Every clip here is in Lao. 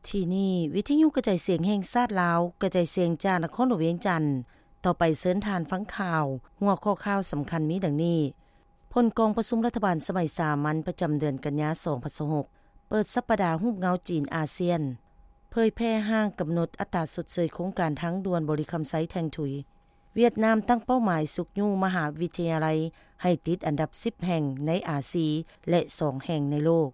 ທີ່ນີ້ ວິທະຍຸກະຈາຍສຽງແຫ່ງຊາດລາວ ກະຈາຍສຽງຈາກນະຄອນຫຼວງວຽງຈັນ. ຕໍ່ໄປເຊີນທ່ານຟັງຂ່າວ. ຫົວຂໍ້ຂ່າວສຳຄັນມີດັ່ງນີ້: ຜົນກອງປະຊຸມລັດຖະບານສະໄໝສາມັນປະຈຳເດືອນກັນຍາ ສອງພັນຊາວຫົກ ເປີດສັບປະດາຮູບເງົາຈີນອາຊຽນ. ເຜີຍແຜ່ຮ່າງກຳນົດອັດຕາຊົດເຊີຍໂຄງການທາງດ່ວນບໍລິຄຳໄຊແທ່ງທຸຍ. ຫວຽດນາມຕັ້ງເປົ້າໝາຍຊຸກຍູ້ມະຫາວິທະຍາໄລໃຫ້ຕິດອັນດັບສິບແຫ່ງໃນອາຊີ ແລະ ສອງແຫ່ງໃນໂລກ.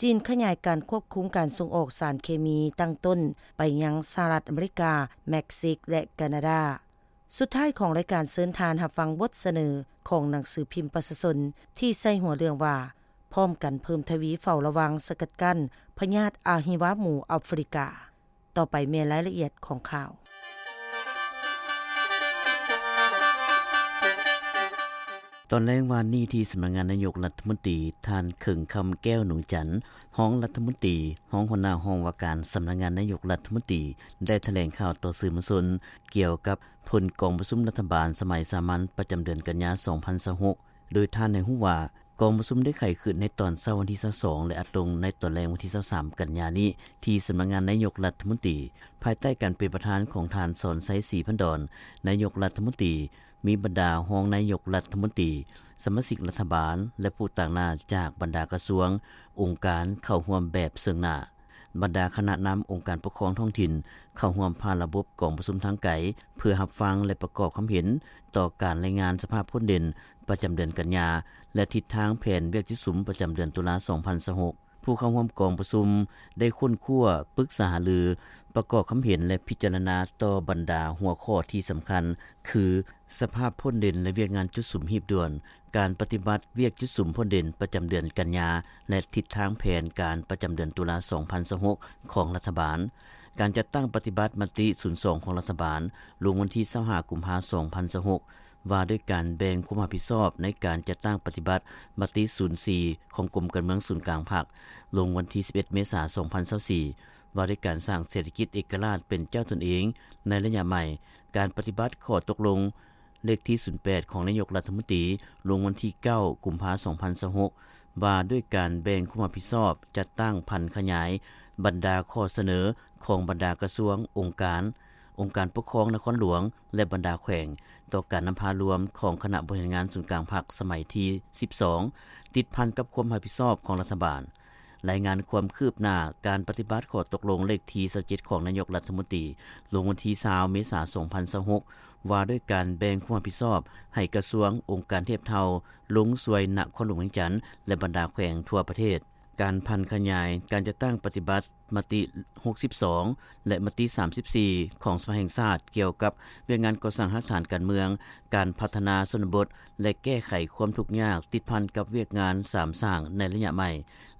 ຈີນຂະຫຍາຍການຄວບຄຸມການສົ່ງອອກສານເຄມີຕັ້ງຕົ້ນໄປຍັງສະຫະລັດອາເມລິກາ, ເມັກຊິກ ແລະ ການາດາ. ສຸດທ້າຍຂອງລາຍການ ເຊີນທ່ານຮັບຟັງບົດສະເໜີຂອງໜັງສືພິມປະຊາຊົນ ທີ່ໃສ່ຫົວເລື່ອງວ່າ ພ້ອມກັນເພີ່ມທະວີເຝົ້າລະວັງສະກັດກັ້ນພະຍາດອະຫິວາໝູອາຟຣິກາ. ຕໍ່ໄປແມ່ນລາຍລະອຽດຂອງຂ່າວ. ຕອນແລງວານນີ້ ທີ່ສຳນັກງານນາຍົກລັດຖະມົນຕີ, ທ່ານ ເຂີງຄຳ ແກ້ວໜູຈັນ ຮອງລັດຖະມົນຕີ, ຮອງຫົວໜ້າຫ້ອງວ່າການສຳນັກງານນາຍົກລັດຖະມົນຕີ ໄດ້ຖະແຫຼງຂ່າວຕໍ່ສື່ມວນຊົນ ກ່ຽວກັບຜົນກອງປະຊຸມລັດຖະບານສະໄໝສາມັນປະຈຳເດືອນກັນຍາ ສອງພັນຊາວຫົກ ໂດຍທ່ານໃຫ້ຮູ້ວ່າ ກອງປະຊຸມໄດ້ໄຂຂຶ້ນໃນຕອນເຊົ້າວັນທີຊາວສອງ ແລະ ອັດລົງໃນຕອນແລງວັນທີຊາວສາມ ກັນຍານີ້ ທີ່ສຳນັກງານນາຍົກລັດຖະມົນຕີ, ພາຍໃຕ້ການເປັນປະທານຂອງທ່ານ ສອນໄຊ ສີພັນດອນ ນາຍົກລັດຖະມົນຕີ, ມີບັນດາຮອງນາຍົກລັດຖະມົນຕີ, ສະມາຊິກລັດຖະບານ ແລະ ຜູ້ຕາງໜ້າຈາກບັນດາກະຊວງ, ອົງການເຂົ້າຮ່ວມແບບເຊິ່ງໜ້າ. ບັນດາຄະນະນຳອົງການປົກຄອງທ້ອງຖິ່ນເຂົ້າຮ່ວມຜ່ານລະບົບກອງປະຊຸມທາງໄກ ເພື່ອຮັບຟັງ ແລະ ປະກອບຄຳເຫັນຕໍ່ການລາຍງານສະພາບພົ້ນເດັ່ນປະຈຳເດືອນກັນຍາ ແລະ ທິດທາງແຜນວຽກຈຸດສຸມປະຈຳເດືອນຕຸລາ ສອງພັນຊາວຫົກ. ຜູ້ເຂົ້າຮ່ວມກອງປະຊຸມໄດ້ຄົ້ນຄວ້າ, ປຶກສາຫາລື, ປະກອບຄຳເຫັນ ແລະ ພິຈາລະນາຕໍ່ບັນດາຫົວຂໍ້ທີ່ສຳຄັນ ຄື ສະພາບພົ້ນເດັ່ນ ແລະ ວຽກງານຈຸດສຸມຮີບດ່ວນ, ການປະຕິບັດວຽກຈຸດສຸມພົ້ນເດັ່ນປະຈຳເດືອນກັນຍາ ແລະ ທິດທາງແຜນການປະຈຳເດືອນຕຸລາ ສອງພັນຊາວຫົກ ຂອງລັດຖະບານ, ການຈັດຕັ້ງປະຕິບັດມະຕິ ສູນສອງ ຂອງລັດຖະບານ ລົງວັນທີ ຊາວຫ້າ ກຸມພາ ສອງພັນຊາວຫົກ ວ່າດ້ວຍການແບ່ງຄວາມຮັບຜິດຊອບໃນການຈັດຕັ້ງປະຕິບັດມະຕິ ສູນສີ່ ຂອງກົມການເມືອງສູນກາງພັກ ລົງວັນທີ ສິບເອັດ ເມສາ ສອງພັນຊາວສີ່ ວ່າດ້ວຍການສ້າງເສດຖະກິດເອກະລາດເປັນເຈົ້າຕົນເອງໃນໄລຍະໃໝ່, ການປະຕິບັດຂໍ້ຕົກລົງເລກທີ ສູນແປດ ຂອງນາຍົກລັດຖະມົນຕີ ລົງວັນທີ ເກົ້າ ກຸມພາ ສອງພັນຊາວຫົກ ວ່າດ້ວຍການແບ່ງຄວາມຮັບຜິດຊອບ ຈັດຕັ້ງຜັນຂະຫຍາຍບັນດາຂໍ້ສະເໜີຂອງບັນດາກະຊວງ, ອົງການ, ອົງການປົກຄອງນະຄອນຫຼວງ ແລະ ບັນດາແຂວງ ຕໍ່ການນຳພາລວມຂອງຄະນະບໍລິຫານງານສູນກາງພັກສະໄໝທີ ສິບສອງ ຕິດພັນກັບຄວາມຮັບຜິດຊອບຂອງລັດຖະບານ. ລາຍງານຄວາມຄືບໜ້າການປະຕິບັດຂໍ້ຕົກລົງເລກທີ ຊາວເຈັດ ຂອງນາຍົກລັດຖະມົນຕີ ລົງວັນທີ ຊາວ ເມສາ ສອງພັນຊາວຫົກ ວ່າດ້ວຍການແບ່ງຄວາມຮັບຜິດຊອບໃຫ້ກະຊວງ, ອົງການທຽບເທົ່າລົງຊ່ວຍນະຄອນຫຼວງວຽງຈັນ ແລະ ບັນດາແຂວງທົ່ວປະເທດ. ການຜັນຂະຫຍາຍການຈັດຕັ້ງປະຕິບັດມະຕິ ຫົກສິບສອງ ແລະ ມະຕິ ສາມສິບສີ່ ຂອງສະພາແຫ່ງຊາດ ກ່ຽວກັບວຽກງານກໍ່ສ້າງຮາກຖານການເມືອງ, ການພັດທະນາຊົນນະບົດ ແລະ ແກ້ໄຂຄວາມທຸກຍາກ ຕິດພັນກັບວຽກງານສາມສ້າງໃນໄລຍະໃໝ່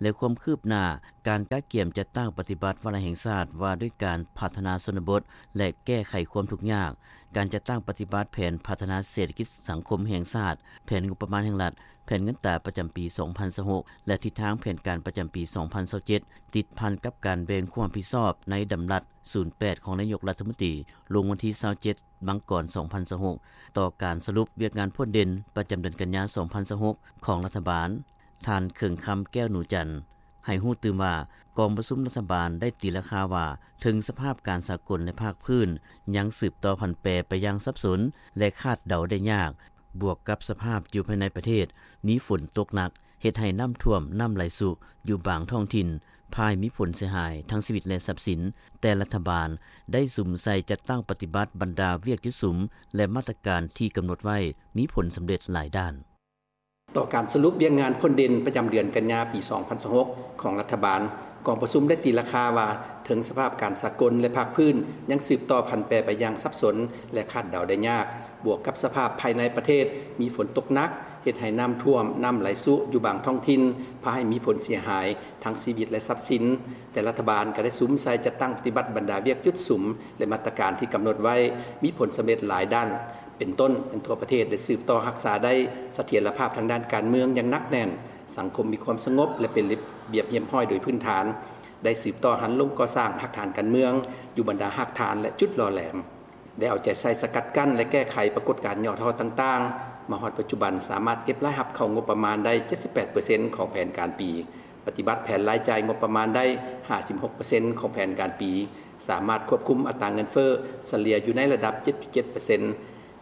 ແລະ ຄວາມຄືບໜ້າການກະກຽມຈັດຕັ້ງປະຕິບັດວາລະແຫ່ງຊາດວ່າດ້ວຍການພັດທະນາຊົນນະບົດ ແລະ ແກ້ໄຂຄວາມທຸກຍາກ, ການຈັດຕັ້ງປະຕິບັດແຜນພັດທະນາເສດຖະກິດສັງຄົມແຫ່ງຊາດ, ແຜນງົບປະມານແຫ່ງລັດ, ແຜນເງິນຕາປະຈຳປີ ສອງພັນຊາວຫົກ ແລະ ທິດທາງແຜນການປະຈຳປີ ສອງພັນຊາວເຈັດ ຕິດພັນກັບການແບ່ງຄວາມຮັບຜິດຊອບໃນດຳລັດ ສູນແປດ ຂອງນາຍົກລັດຖະມົນຕີ ລົງວັນທີ ຊາວເຈັດ ມັງກອນ ສອງພັນຊາວຫົກ ຕໍ່ການສະຫຼຸບວຽກງານພົ້ນເດັ່ນປະຈຳເດືອນກັນຍາ ສອງພັນຊາວຫົກ ຂອງລັດຖະບານ, ທ່ານ ເຂີງຄຳ ແກ້ວໜູຈັນ ໃຫ້ຮູ້ຕື່ມວ່າ ກອງປະຊຸມລັດຖະບານໄດ້ຕີລາຄາວ່າ ເຖິງສະພາບການສາກົນ ແລະ ພາກພື້ນຍັງສືບຕໍ່ຜັນແປໄປຢ່າງສັບສົນ ແລະ ຄາດເດົາໄດ້ຍາກ, ບວກກັບສະພາບຢູ່ພາຍໃນປະເທດມີຝົນຕົກໜັກ ເຮັດໃຫ້ນ້ຳຖ້ວມ, ນ້ຳໄຫຼຊຸຢູ່ບາງທ້ອງຖິ່ນ ພາໃຫ້ມີຜົນເສຍຫາຍທັງຊີວິດ ແລະ ຊັບສິນ, ແຕ່ລັດຖະບານໄດ້ສຸມໃສ່ຈັດຕັ້ງປະຕິບັດບັນດາວຽກຈຸດສຸມ ແລະ ມາດຕະການທີ່ກຳນົດໄວ້ ມີຜົນສຳເລັດຫຼາຍດ້ານ. ຕໍ່ການສະຫຼຸບວຽກງານພົ້ນເດັ່ນປະຈຳເດືອນກັນຍາ ປີ ສອງພັນຊາວຫົກ ຂອງລັດຖະບານ, ກອງປະຊຸມໄດ້ຕີລາຄາວ່າ ເຖິງສະພາບການສາກົນ ແລະ ພາກພື້ນຍັງສືບຕໍ່ຜັນແປໄປຢ່າງສັບສົນ ແລະ ຄາດເດົາໄດ້ຍາກ, ບວກກັບສະພາບພາຍໃນປະເທດມີຝົນຕົກໜັກ ເຮັດໃຫ້ນ້ຳຖ້ວມ, ນ້ຳໄຫຼຊຸຢູ່ບາງທ້ອງຖິ່ນ ພາໃຫ້ມີຜົນເສຍຫາຍທັງຊີວິດ ແລະ ຊັບສິນ, ແຕ່ລັດຖະບານກໍໄດ້ສຸມໃສ່ຈັດຕັ້ງປະຕິບັດບັນດາວຽກຈຸດສຸມ ແລະ ມາດຕະການທີ່ກຳນົດໄວ້ ມີຜົນສຳເລັດຫຼາຍດ້ານ. ເປັນຕົ້ນ, ທົ່ວປະເທດໄດ້ສືບຕໍ່ຮັກສາໄດ້ສະຖຽນລະພາບທາງດ້ານການເມືອງຢ່າງໜັກແໜ້ນ, ສັງຄົມມີຄວາມສະຫງົບ ແລະ ເປັນລະບຽບຮຽບຮ້ອຍໂດຍພື້ນຖານ, ໄດ້ສືບຕໍ່ຫັນລົງກໍ່ສ້າງຮາກຖານການເມືອງ ຢູ່ບັນດາຮາກຖານ ແລະ ຈຸດຫຼໍ່ແຫຼມ, ໄດ້ເອົາໃຈໃສ່ສະກັດກັ້ນ ແລະ ແກ້ໄຂປາກົດການຫຍໍ້ທໍ້ຕ່າງໆ, ມາຮອດປັດຈຸບັນສາມາດເກັບລາຍຮັບເຂົ້າງົບປະມານໄດ້ ເຈັດສິບແປດເປີເຊັນ ຂອງແຜນການປີ ປະຕິບັດແຜນລາຍຈ່າຍງົບປະມານໄດ້ ຫ້າສິບຫົກເປີເຊັນ ຂອງແຜນການປີ, ສາມາດຄວບຄຸມອັດຕາເງິນເຟີ້ສະເລ່ຍຢູ່ໃນລະດັບ ເຈັດຈຸດເຈັດເປີເຊັນ,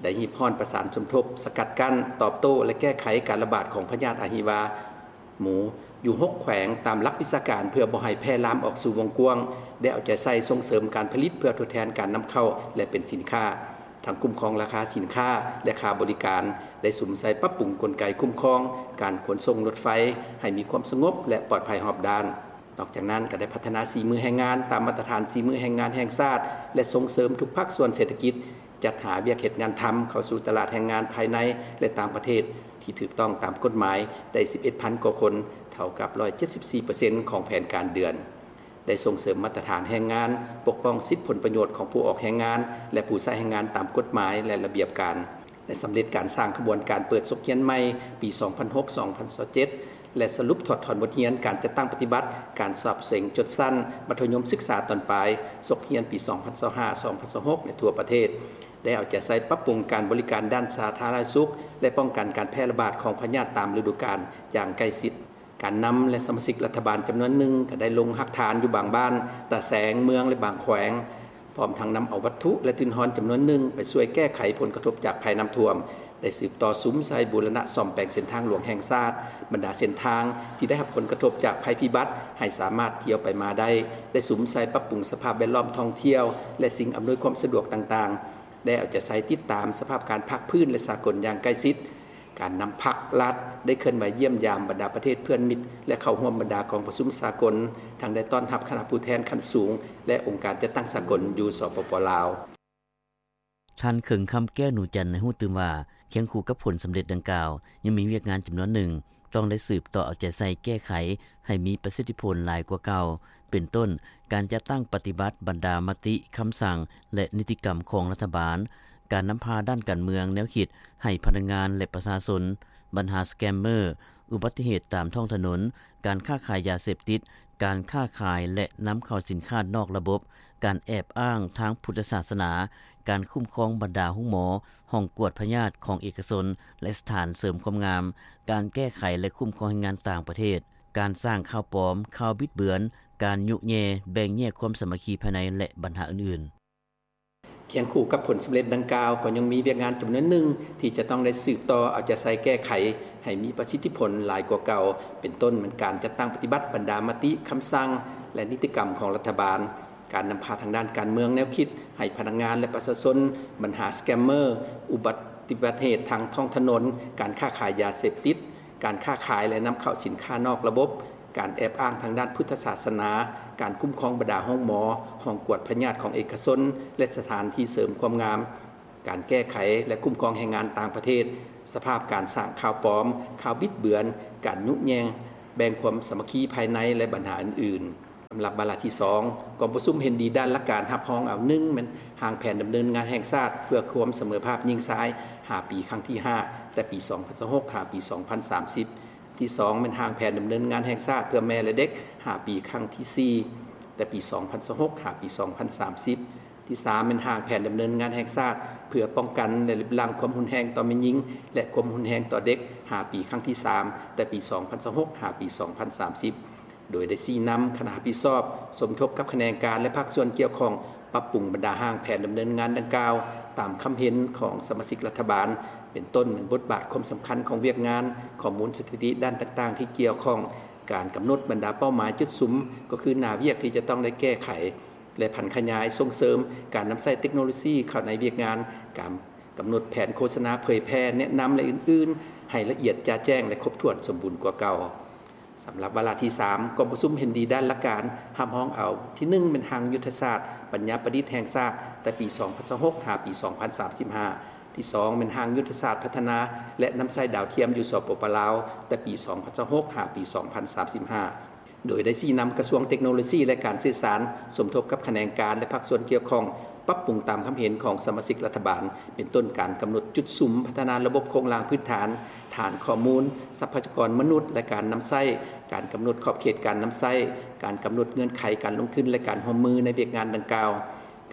ໄດ້ຮີບຮ້ອນປະສານສົມທົບ, ສະກັດກັ້ນ, ຕອບໂຕ້ ແລະ ແກ້ໄຂການລະບາດຂອງພະຍາດອະຫິວາໝູ ຢູ່ຫົກແຂວງຕາມຫຼັກວິຊາການ ເພື່ອບໍ່ໃຫ້ແຜ່ລາມອອກສູ່ວົງກວ້າງ, ໄດ້ເອົາໃຈໃສ່ສົ່ງເສີມການຜະລິດເພື່ອທົດແທນການນຳເຂົ້າ ແລະ ເປັນສິນຄ້າ. ທັງຄຸ້ມຄອງລາຄາສິນຄ້າ ແລະ ຄ່າບໍລິການ, ໄດ້ສຸມໃສ່ປັບປຸງກົນໄກຄຸ້ມຄອງການຂົນສົ່ງລົດໄຟໃຫ້ມີຄວາມສະຫງົບ ແລະ ປອດໄພຮອບດ້ານ. ນອກຈາກນັ້ນ, ກໍໄດ້ພັດທະນາສີມືແຮງງານຕາມມາດຕະຖານສີມືແຮງງານແຫ່ງຊາດ ແລະ ສົ່ງເສີມທຸກພາກສ່ວນເສດຖະກິດ ຈັດຫາວຽກເຮັດງານທຳເຂົ້າສູ່ຕະຫຼາດແຮງງານພາຍໃນ ແລະ ຕ່າງປະເທດ ທີ່ຖືກຕ້ອງຕາມກົດໝາຍໄດ້ ສິບເອັດພັນກວ່າຄົນ, ເທົ່າກັບ ຮ້ອຍເຈັດສິບສີ່ເປີເຊັນ ຂອງແຜນການເດືອນ. ໄດ້ສົ່ງເສີມມາດຕະຖານແຮງງານ, ປົກປ້ອງສິດຜົນປະໂຫຍດຂອງຜູ້ອອກແຮງງານ ແລະ ຜູ້ໃຊ້ແຮງງານຕາມກົດໝາຍ ແລະ ລະບຽບການ, ໄດ້ສຳເລັດການສ້າງຂະບວນການເປີດສົກຮຽນໃໝ່ປີສອງພັນຫົກ ສອງພັນຊາວເຈັດ ແລະ ສະຫຼຸບຖອດຖອນບົດຮຽນການຈັດຕັ້ງປະຕິບັດການສອບເສັງຈົບຊັ້ນມັດທະຍົມສຶກສາຕອນປາຍ ສົກຮຽນປີສອງພັນຊາວຫ້າ ສອງພັນຊາວຫົກ ໃນທົ່ວປະເທດ, ໄດ້ເອົາໃຈໃສ່ປັບປຸງການບໍລິການດ້ານສາທາລະນະສຸກ ແລະ ປ້ອງກັນການແຜ່ລະບາດຂອງພະຍາດຕາມລະດູການຢ່າງໃກ້ຊິດ. ການນຳ ແລະ ສະມາຊິກລັດຖະບານຈຳນວນໜຶ່ງ ກໍໄດ້ລົງຮາກຖານຢູ່ບາງບ້ານ, ຕາແສງ, ເມືອງ ແລະ ບາງແຂວງ, ພ້ອມທັງນຳເອົາວັດຖຸ ແລະ ທຶນຮອນຈຳນວນໜຶ່ງໄປຊ່ວຍແກ້ໄຂຜົນກະທົບຈາກໄພນ້ຳຖ້ວມ, ໄດ້ສືບຕໍ່ສຸມໃສ່ບູລະນະສ້ອມແປງເສັ້ນທາງຫຼວງແຫ່ງຊາດ, ບັນດາເສັ້ນທາງທີ່ໄດ້ຮັບຜົນກະທົບຈາກໄພພິບັດໃຫ້ສາມາດທ່ຽວໄປມາໄດ້, ໄດ້ສຸມໃສ່ປັບປຸງສະພາບແວດລ້ອມທ່ອງທ່ຽວ ແລະ ສິ່ງອຳນວຍຄວາມສະດວກຕ່າງໆ, ໄດ້ເອົາໃຈໃສ່ຕິດຕາມສະພາບການພາກພື້ນ ແລະ ສາກົນຢ່າງໃກ້ຊິດ. ການນຳພັກລັດໄດ້ເຄື່ອນໄຫວຢ້ຽມຢາມບັນດາປະເທດເພື່ອນມິດ ແລະ ເຂົ້າຮ່ວມບັນດາກອງປະຊຸມສາກົນ, ທັງໄດ້ຕ້ອນຮັບຄະນະຜູ້ແທນຂັ້ນສູງ ແລະ ອົງການຈັດຕັ້ງສາກົນຢູ່ ສປປ ລາວ. ທ່ານ ເຄິງຄຳແກ້ວໜູຈັນ ໃຫ້ຮູ້ຕື່ມວ່າ ຄຽງຄູ່ກັບຜົນສຳເລັດດັ່ງກ່າວ ຍັງມີວຽກງານຈຳນວນໜຶ່ງ ຕ້ອງໄດ້ສືບຕໍ່ເອົາໃຈໃສ່ແກ້ໄຂໃຫ້ມີປະສິດທິຜົນຫຼາຍກວ່າເກົ່າ, ເປັນຕົ້ນ ການຈັດຕັ້ງປະຕິບັດບັນດາມະຕິ, ຄຳສັ່ງ ແລະ ນິຕິກຳຂອງລັດຖະບານ, ການນຳພາດ້ານການເມືອງ, ແນວຄິດໃຫ້ພະນັກງານ ແລະ ປະຊາຊົນ, ບັນຫາສະແກມເມີ, ອຸບັດຕິເຫດຕາມທ້ອງຖະໜົນ, ການຄ້າຂາຍຢາເສບຕິດ, ການຄ້າຂາຍ ແລະ ນຳເຂົ້າສິນຄ້ານອກລະບົບ, ການແອບອ້າງທາງພຸດທະສາສະໜາ, ການຄຸ້ມຄອງບັນດາໂຮງໝໍ, ຫ້ອງກວດພະຍາດຂອງເອກະຊົນ ແລະ ສະຖານເສີມຄວາມງາມ, ການແກ້ໄຂ ແລະ ຄຸ້ມຄອງແຮງງານຕ່າງປະເທດ, ການສ້າງຂ່າວປອມ, ຂ່າວບິດເບືອນ, ການຍຸແຍ່, ແບ່ງແຍກຄວາມສາມັກຄີພາຍໃນ ແລະ ບັນຫາອື່ນໆ. ຄຽງຄູ່ກັບຜົນສຳເລັດດັ່ງກ່າວ, ກໍຍັງມີວຽກງານຈຳນວນໜຶ່ງທີ່ຈະຕ້ອງໄດ້ສືບຕໍ່ເອົາໃຈໃສ່ແກ້ໄຂໃຫ້ມີປະສິດທິຜົນຫຼາຍກວ່າເກົ່າ, ເປັນຕົ້ນແມ່ນການຈັດຕັ້ງປະຕິບັດບັນດາມະຕິ, ຄຳສັ່ງ ແລະ ນິຕິກຳຂອງລັດຖະບານ, ການນຳພາທາງດ້ານການເມືອງ, ແນວຄິດໃຫ້ພະນັກງານ ແລະ ປະຊາຊົນ, ບັນຫາສະແກມເມີ, ອຸບັດຕິເຫດທາງທ້ອງຖະໜົນ, ການຄ້າຂາຍຢາເສບຕິດ, ການຄ້າຂາຍ ແລະ ນຳເຂົ້າສິນຄ້ານອກລະບົບ, ການແອບອ້າງທາງດ້ານພຸດທະສາສະໜາ, ການຄຸ້ມຄອງບັນດາໂຮງໝໍ, ຫ້ອງກວດພະຍາດຂອງເອກະຊົນ ແລະ ສະຖານທີ່ເສີມຄວາມງາມ, ການແກ້ໄຂ ແລະ ຄຸ້ມຄອງແຮງງານຕ່າງປະເທດ, ສະພາບການສ້າງຂ່າວປອມ, ຂ່າວບິດເບືອນ, ການຍຸແຍ່, ແບ່ງຄວາມສາມັກຄີພາຍໃນ ແລະ ບັນຫາອື່ນໆ. ສຳລັບວາລະທີສອງ, ກອງປະຊຸມເຫັນດີດ້ານຫຼັກການຮັບຮອງເອົາ ໜຶ່ງ ແມ່ນຮ່າງແຜນດຳເນີນງານແຫ່ງຊາດເພື່ອຄວາມສະເໝີພາບຍິງຊາຍ ຫ້າ ປີ ຄັ້ງທີ ຫ້າ ແຕ່ປີ ສອງພັນຊາວຫົກ ຫາ ປີ ສອງພັນສາມສິບ. ທີສອງ ແມ່ນຮ່າງແຜນດຳເນີນງານແຫ່ງຊາດເພື່ອແມ່ ແລະ ເດັກ ຫ້າ ປີ ຄັ້ງທີ ສີ່ ແຕ່ປີ ສອງພັນຊາວຫົກ ຫາ ປີ ສອງພັນສາມສິບ. ທີສາມ ແມ່ນຮ່າງແຜນດຳເນີນງານແຫ່ງຊາດເພື່ອປ້ອງກັນ ແລະ ລຶບລ້າງຄວາມຮຸນແຮງຕໍ່ແມ່ຍິງ ແລະ ຄວາມຮຸນແຮງຕໍ່ເດັກ ຫ້າ ປີ ຄັ້ງທີ ສາມ ແຕ່ປີ ສອງພັນຊາວຫົກ ຫາ ປີ ສອງພັນສາມສິບ. ໂດຍໄດ້ຊີ້ນຳຄະນະຮັບຜິດຊອບ ສົມທົບກັບຂະແໜງການ ແລະ ພາກສ່ວນກ່ຽວຂ້ອງ ປັບປຸງບັນດາຮ່າງແຜນດຳເນີນງານດັ່ງກ່າວ ຕາມຄຳເຫັນຂອງສະມາຊິກລັດຖະບານ, ເປັນຕົ້ນແມ່ນບົດບາດຄວາມສຳຄັນຂອງວຽກງານ, ຂໍ້ມູນສະຖິຕິດ້ານຕ່າງໆທີ່ກ່ຽວຂ້ອງ, ການກຳນົດບັນດາເປົ້າໝາຍຈຸດສຸມ ກໍຄືໜ້າວຽກທີ່ຈະຕ້ອງໄດ້ແກ້ໄຂ ແລະ ຜັນຂະຫຍາຍສົ່ງເສີມການນຳໃຊ້ເຕັກໂນໂລຊີເຂົ້າໃນວຽກງານ, ການກຳນົດແຜນໂຄສະນາເຜີຍແຜ່, ແນະນຳ ແລະ ອື່ນໆ ໃຫ້ລະອຽດຈະແຈ້ງ ແລະ ຄົບຖ້ວນສົມບູນກວ່າເກົ່າ. ສຳລັບວາລະທີສາມ ກອງປະຊຸມເຫັນດີດ້ານຫຼັກການຮັບຮອງເອົາ ທີໜຶ່ງ ແມ່ນຮ່າງຍຸດທະສາດປັນຍາປະດິດແຫ່ງຊາດ ແຕ່ປີ ສອງພັນຊາວຫົກ ຫາ ປີ ສອງພັນສາມສິບຫ້າ, ທີສອງ ແມ່ນຮ່າງຍຸດທະສາດພັດທະນາ ແລະ ນຳໃຊ້ດາວທຽມຢູ່ ສປປ ລາວ ແຕ່ປີ ສອງພັນຊາວຫົກ ຫາ ປີ ສອງພັນສາມສິບຫ້າ ໂດຍໄດ້ຊີ້ນຳກະຊວງເຕັກໂນໂລຊີ ແລະ ການສື່ສານ ສົມທົບກັບຂະແໜງການ ແລະ ພາກສ່ວນກ່ຽວຂ້ອງ ປັບປຸງຕາມຄຳເຫັນຂອງສະມາຊິກລັດຖະບານ ເປັນຕົ້ນການກຳນົດຈຸດສຸມພັດທະນາລະບົບໂຄງລ່າງພື້ນຖານ, ຖານຂໍ້ມູນ, ຊັບພະຍາກອນມະນຸດ ແລະ ການນຳໃຊ້, ການກຳນົດຂອບເຂດການນຳໃຊ້, ການກຳນົດເງື່ອນໄຂການລົງທຶນ ແລະ ການຮ່ວມມືໃນວຽກງານດັ່ງກ່າວ,